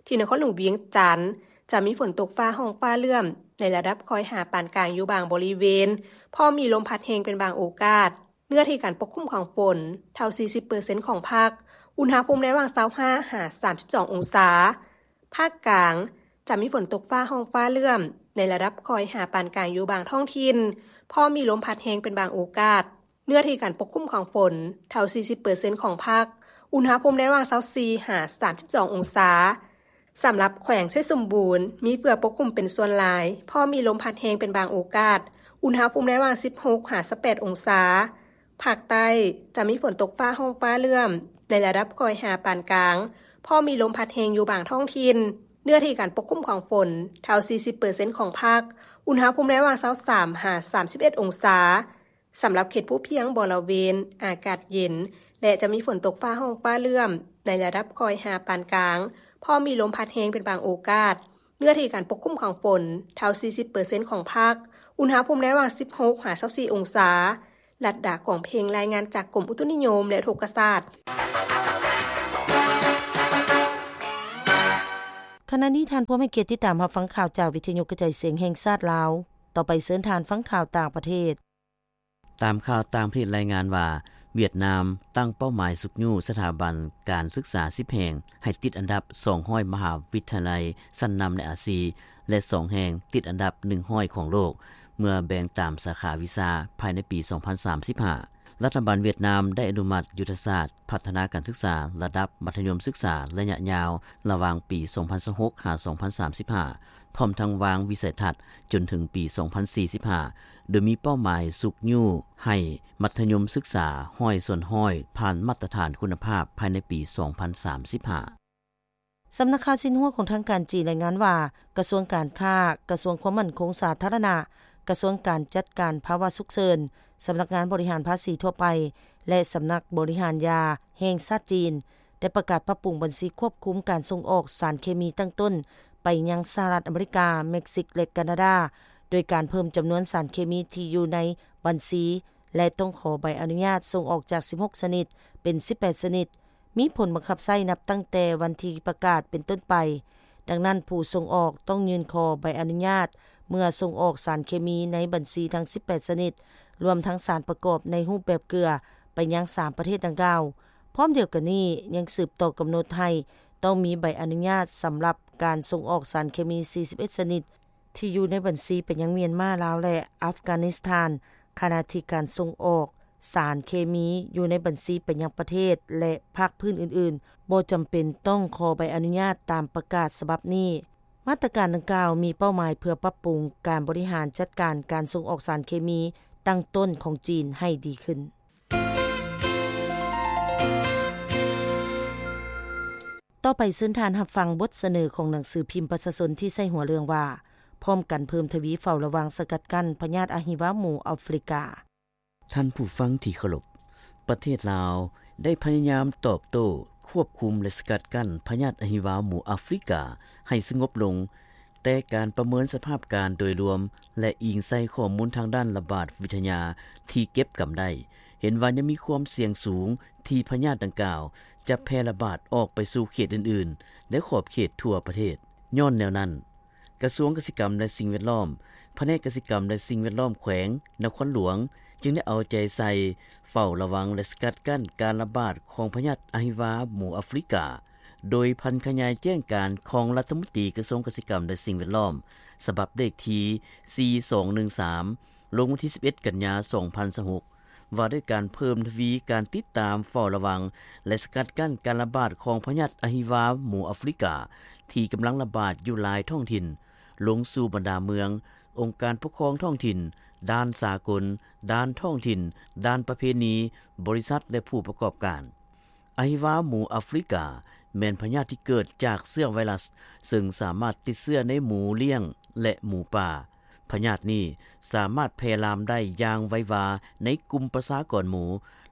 ທີ່ນະຄອນຫຼວງວຽງຈັນ ຈະມີຝົນຕົກຟ້າຮ້ອງຟ້າເຫຼື້ອມໃນລະດັບຄ່ອຍຫາປານກາງຢູ່ບາງບໍລິເວນ, ພໍມີລົມພັດແຮງເປັນບາງໂອກາດ. ເນື້ອທີ່ການປົກຄຸມຂອງຝົນ ເທົ່າສີ່ສິບເປີເຊັນຂອງພາກ, ອຸນຫະພູມໃນລະຫວ່າງຊາວຫ້າຫາສາມສິບສອງອົງສາ. ພາກກາງ ຈະມີຝົນຕົກຟ້າຮ້ອງຟ້າເຫຼື້ອມໃນລະດັບຄ່ອຍຫາປານກາງຢູ່ບາງທ້ອງຖິ່ນ, ພໍມີລົມພັດແຮງເປັນບາງໂອກາດ. ເນື້ອທີ່ການປົກຄຸມຂອງຝົນ ເທົ່າສີ່ສິບເປີເຊັນຂອງພາກ, ອຸນຫະພູມໃນລະຫວ່າງຊາວສີ່ຫາສາມສິບສອງອົງສາ. ສຳລັບແຂວງໄຊສົມບູນ ມີເຝືອປົກຄຸມເປັນສ່ວນຫຼາຍ, ພໍມີລົມພັດແຮງເປັນບາງໂອກາດ, ອຸນຫະພູມໃນລະຫວ່າງສິບຫົກຫາຊາວແປດອົງສາ. ພາກໃຕ້ ຈະມີຝົນຕົກຟ້າຮ້ອງຟ້າເຫຼື້ອມໃນລະດັບຄ່ອຍຫາປານກາງ, ພໍມີລົມພັດແຮງຢູ່ບາງທ້ອງຖິ່ນ. ເນື້ອທີ່ການປົກຄຸມຂອງຝົນ ເທົ່າສີ່ສິບເປີເຊັນຂອງພາກ, ອຸນຫະພູມໃນລະຫວ່າງຊາວສາມຫາສາມສິບເອັດອົງສາ. ສຳລັບເຂດພູພຽງບໍລະເວນ ອາກາດເຢັນ ແລະ ຈະມີຝົນຕົກຟ້າຮ້ອງຟ້າເຫຼື້ອມໃນລະດັບຄ່ອຍຫາປານກາງ, ພໍມີລົມພັດແຮງເປັນບາງໂອກາດ. ເນື້ອທີ່ການປົກຄຸມຂອງຝົນ ເທົ່າສີ່ສິບເປີເຊັນຂອງພາກ, ອຸນຫະພູມໃນລະຫວ່າງສິບຫົກຫາຊາວສີ່ອົງສາ. ລັດດາ ກອງເພັງ ລາຍງານຈາກກົມອຸຕຸນິຍົມ ແລະ ອຸທົກກະສາດ. ຂະນະນີ້ທ່ານພວມໃຫ້ກຽດຕິດຕາມຮັບຟັງຂ່າວຈາກວິທະຍຸກະຈາຍສຽງແຫ່ງຊາດລາວ. ຕໍ່ໄປເຊີນທ່ານຟັງຂ່າວຕ່າງປະເທດ. ຕາມຂ່າວຕ່າງປະເທດລາຍງານວ່າ, ຫວຽດນາມຕັ້ງເປົ້າໝາຍຊຸກຍູ້ສະຖາບັນການສຶກສາສິບແຫ່ງໃຫ້ຕິດອັນດັບສອງຮ້ອຍມະຫາວິທະຍາໄລຊັ້ນນຳໃນອາຊີ ແລະ ສອງແຫ່ງຕິດອັນດັບໜຶ່ງຮ້ອຍຂອງໂລກ ເມື່ອແບ່ງຕາມສາຂາວິຊາພາຍໃນປີສອງພັນສາມສິບຫ້າ. ລັດຖະບານຫວຽດນາມໄດ້ອະນຸມັດຍຸດທະສາດພັດທະນາການສຶກສາລະດັບມັດທະຍົມສຶກສາໄລຍະຍາວ ລະຫວ່າງປີສອງພັນຊາວຫົກຫາສອງພັນສາມສິບຫ້າ ພ້ອມທັງວາງວິໄສທັດຈົນເຖິງປີສອງພັນສີ່ສິບຫ້າ ໂດຍມີເປົ້າໝາຍຊຸກຍູ້ໃຫ້ມັດທະຍົມສຶກສາຮ້ອຍສ່ວນຮ້ອຍ ຜ່ານມາດຕະຖານຄຸນນະພາບພາຍໃນປີສອງພັນສາມສິບຫ້າ. ສຳນັກຂ່າວຊິນຫົວຂອງທາງການຈີນລາຍງານວ່າ, ກະຊວງການຄ້າ, ກະຊວງຄວາມໝັ້ນຄົງສາທາລະນະ, ກະຊວງການຈັດການພາວະສຸກເສີນ, ສຳນັກງານບໍລິຫານພາສີທົ່ວໄປ ແລະ ສຳນັກບໍລິຫານຢາແຫ່ງຊາດຈີນ ໄດ້ປະກາດປັບປຸງບັນຊີຄວບຄຸມການສົ່ງອອກສານເຄມີຕັ້ງຕົ້ນໄປຍັງສະຫະລັດອາເມລິກາ, ເມັກຊິກ ແລະ ການາດາ, ໂດຍການເພີ່ມຈຳນວນສານເຄມີທີ່ຢູ່ໃນບັນຊີ ແລະ ຕ້ອງຂໍໃບອະນຸຍາດສົ່ງອອກຈາກສິບຫົກຊະນິດເປັນສິບແປດຊະນິດ, ມີຜົນບັງຄັບໃຊ້ນັບຕັ້ງແຕ່ວັນທີ່ປະກາດເປັນຕົ້ນໄປ. ດັ່ງນັ້ນ, ຜູ້ສົ່ງອອກຕ້ອງຍື່ນຂໍໃບອະນຸຍາດເມື່ອສົ່ງອອກສານເຄມີໃນບັນຊີທັງສິບແປດຊະນິດ, ລວມທັງສານປະກອບໃນຮູບແບບເກືອ, ໄປຍັງສາມປະເທດດັ່ງກ່າວ. ພ້ອມດຽວກັນນີ້ ຍັງສືບຕໍ່ກຳນົດໃຫ້ຕ້ອງມີໃບອະນຸຍາດສຳລັບການສົ່ງອອກສານເຄມີ 41 ຊະນິດ ທີ່ຢູ່ໃນບັນຊີໄປຍັງມຽນມາ, ລາວ ແລະ ອັຟການິສຖານ, ຂະນະທີ່ການສົ່ງອອກສານເຄມີຢູ່ໃນບັນຊີໄປຍັງປະເທດ ແລະ ພາກພື້ນອື່ນໆ ບໍ່ຈຳເປັນຕ້ອງຂໍໃບອະນຸຍາດຕາມປະກາດສະບັບນີ້. ມາດຕະການດັ່ງກ່າວມີເປົ້າໝາຍເພື່ອປັບປຸງການບໍລິຫານຈັດການການສົ່ງອອກສານເຄມີຕັ້ງຕົ້ນຂອງຈີນໃຫ້ດີຂຶ້ນ. ຕໍ່ໄປເຊີນທ່ານຮັບຟັງບົດສະເໜີຂອງໜັງສືພິມປະຊາຊົນທີ່ໃສ່ຫົວເລື່ອງວ່າ ພ້ອມກັນເພີ່ມທະວີເຝົ້າລະວັງສະກັດກັ້ນພະຍາດອະຫິວາໝູອາຟຣິກາ. ທ່ານຜູ້ຟັງທີ່ເຄົາລົບ, ປະເທດລາວໄດ້ພະຍາຍາມຕອບໂຕ້, ຄວບຄຸມ ແລະ ສະກັດກັ້ນພະຍາດອະຫິວາໝູອາຟຣິກາໃຫ້ສະຫງົບລົງ, ແຕ່ການປະເມີນສະພາບການໂດຍລວມ ແລະ ອີງໃສ່ຂໍ້ມູນທາງດ້ານລະບາດວິທະຍາທີ່ເກັບກຳໄດ້, ເຫັນວ່າຍັງມີຄວາມສ່ຽງສູງທີ່ພະຍາດດັ່ງກ່າວຈະແຜ່ລະບາດອອກໄປສູ່ເຂດອື່ນໆ ແລະ ຂອບເຂດທົ່ວປະເທດ. ຍ້ອນແນວນັ້ນ, ກະຊວງກະສິກຳ ແລະ ສິ່ງແວດລ້ອມ, ພະແນກກະສິກຳ ແລະ ສິ່ງແວດລ້ອມແຂວງນະຄອນຫຼວງ ຈຶ່ງໄດ້ເອົາໃຈໃສ່ເຝົ້າລະວັງ ແລະ ສະກັດກັ້ນການລະບາດຂອງພະຍາດອະຫິວາໝູອາຟຣິກາ, ໂດຍຜັນຂະຫຍາຍແຈ້ງການຂອງລັດຖະມົນຕີກະຊວງກະສິກຳ ແລະ ສິ່ງແວດລ້ອມ ສະບັບເລກທີ ສີ່ສອງໜຶ່ງສາມ ລົງວັນທີ ສິບເອັດ ກັນຍາ ສອງພັນຊາວຫົກ ວ່າດ້ວຍການເພີ່ມທະວີການຕິດຕາມເຝົ້າລະວັງ ແລະ ສະກັດກັ້ນການລະບາດຂອງພະຍາດອະຫິວາໝູອາຟຣິກາ ທີ່ກຳລັງລະບາດຢູ່ຫຼາຍທ້ອງຖິ່ນ, ລົງສູ່ບັນດາເມືອງ, ອົງການປົກຄອງທ້ອງຖິ່ນ, ດ່ານສາກົນ, ດ່ານທ້ອງຖິ່ນ, ດ່ານປະເພນີ, ບໍລິສັດ ແລະ ຜູ້ປະກອບການ. ອະຫິວາໝູອາຟຣິກາ ແມ່ນພະຍາດທີ່ເກີດຈາກເຊື້ອໄວຣັສ, ເຊິ່ງສາມາດຕິດເຊື້ອໃນໝູລ້ຽງ ແລະ ໝູປ່າ. ພະຍາດນີ້ສາມາດແຜ່ລາມໄດ້ຢ່າງໄວວາໃນກຸ່ມປະຊາກອນໝູ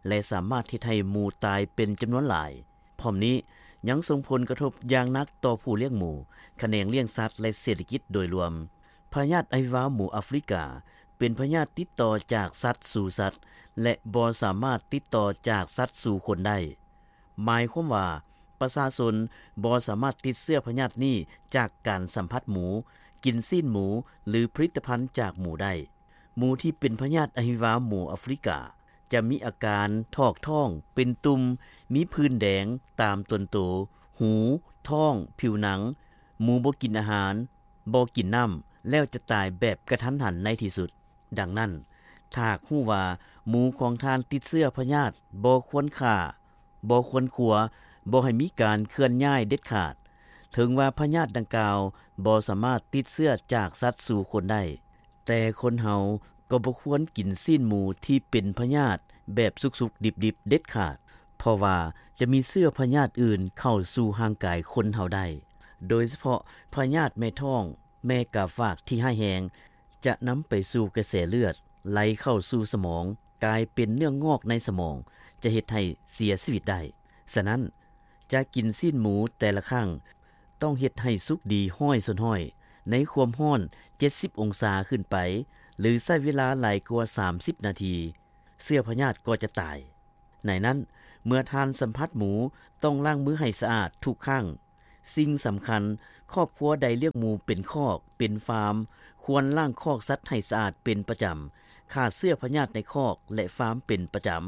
ແລະ ສາມາດເຮັດໃຫ້ໝູຕາຍເປັນຈຳນວນຫຼາຍ. ພ້ອມນີ້ຍັງສົ່ງຜົນກະທົບຢ່າງໜັກຕໍ່ຜູ້ລ້ຽງໝູ, ຂະແໜງລ້ຽງສັດ ແລະ ເສດຖະກິດໂດຍລວມ. ພະຍາດອະຫິວາໝູອາຟຣິກາ ເປັນພະຍາດຕິດຕໍ່ຈາກສັດສູ່ສັດ ແລະ ບໍ່ສາມາດຕິດຕໍ່ຈາກສັດສູ່ຄົນໄດ້. ໝາຍຄວາມວ່າ ປະຊາຊົນບໍ່ສາມາດຕິດເຊື້ອພະຍາດນີ້ຈາກການສຳຜັດໝູ, ກິນຊີ້ນໝູ ຫຼື ຜະລິດຕະພັນຈາກໝູໄດ້. ໝູທີ່ເປັນພະຍາດອະຫິວາໝູອາຟຣິກາ ຈະມີອາການຖອກທ້ອງ, ເປັນຕຸ່ມ, ມີຜື່ນແດງຕາມຕົນໂຕ, ຫູ, ທ້ອງ, ຜິວໜັງ, ໝູບໍ່ກິນອາຫານ, ບໍ່ກິນນ້ຳ ແລ້ວຈະຕາຍແບບກະທັນຫັນໃນທີ່ສຸດ. ດັ່ງນັ້ນ, ຖ້າຫາກຮູ້ວ່າໝູຂອງທ່ານຕິດເຊື້ອພະຍາດ, ບໍ່ຄວນຂ້າ, ບໍ່ຄວນຄົວ, ບໍ່ໃຫ້ມີການເຄື່ອນຍ້າຍເດັດຂາດ. ເຖິງວ່າພະຍາດດັ່ງກ່າວບໍ່ສາມາດຕິດເຊື້ອຈາກສັດສູ່ຄົນໄດ້, ແຕ່ຄົນເຮົາກໍບໍ່ຄວນກິນຊີ້ນໝູທີ່ເປັນພະຍາດແບບສຸກໆດິບໆເດັດຂາດ, ເພາະວ່າຈະມີເຊື້ອພະຍາດອື່ນເຂົ້າສູ່ຮ່າງກາຍຄົນເຮົາໄດ້, ໂດຍສະເພາະພະຍາດແມ່ທ້ອງ, ແມ່ກາຝາກທີ່ຮ້າຍແຮງ ຈະນຳໄປສູ່ກະແສເລືອດໄຫຼເຂົ້າສູ່ສະໝອງ, ກາຍເປັນເນື້ອງອກໃນສະໝອງ, ຈະເຮັດໃຫ້ເສຍຊີວິດໄດ້. ສະນັ້ນ, ຈະກິນຊີ້ນໝູແຕ່ລະຄັ້ງ ຕ້ອງເຮັດໃຫ້ສຸກດີຮ້ອຍສ່ວນຮ້ອຍ ໃນຄວາມຮ້ອນເຈັດສິບອົງສາຂຶ້ນໄປ ຫຼື ໃຊ້ເວລາຫຼາຍກວ່າສາມສິບນາທີ, ເຊື້ອພະຍາດກໍຈະຕາຍ. ໃນນັ້ນ, ເມື່ອທ່ານສຳຜັດໝູ, ຕ້ອງລ້າງມືໃຫ້ສະອາດທຸກຄັ້ງ. ສິ່ງສຳຄັນ, ຄອບຄົວໃດລ້ຽງໝູເປັນຄອກ, ເປັນຟາມ, ຄວນລ້າງຄອກສັດໃຫ້ສະອາດເປັນປະຈຳ, ຂ້າເຊື້ອພະຍາດໃນຄອກ ແລະ ຟາມເປັນປະຈຳ.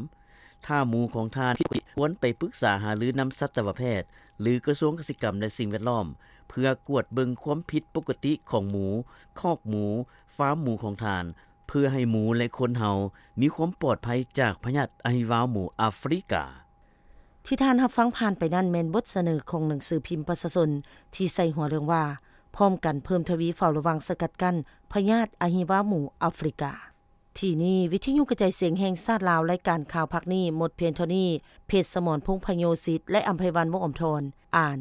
ຖ້າໝູຂອງທ່ານຜິດປົກກະຕິ, ຄວນໄປປຶກສາຫາລືນຳສັດຕະວະແພດ ຫຼື ກະຊວງກະສິກຳ ແລະ ສິ່ງແວດລ້ອມ ເພື່ອກວດເບິ່ງຄວາມຜິດປົກກະຕິຂອງໝູ, ຄອກໝູ, ຟາມໝູຂອງທ່ານ, ເພື່ອໃຫ້ໝູ ແລະ ຄົນເຮົາມີຄວາມປອດໄພຈາກພະຍາດອະຫິວາໝູອາຟຣິກາ. ທີ່ທ່ານຮັບຟັງຜ່ານໄປນັ້ນແມ່ນບົດສະເໜີຂອງໜັງສືພິມປະຊາຊົນທີ່ໃສ່ຫົວເລື່ອງວ່າ ພ້ອມກັນເພີ່ມທະວີເຝົ້າລະວັງສະກັດກັ້ນພະຍາດອະຫິວາໝູອາຟຣິກາ. ທີ່ນີ້ ວິທະຍຸກະຈາຍສຽງແຫ່ງຊາດລາວ, ລາຍການຂ່າວພາກນີ້ໝົດພຽງເທົ່ານີ້. ເພດ ສະໝອນ ພົງພະໂຍສິດ ແລະ ອຳໄພວັນ ວົງອຳທອນ ອ່ານ.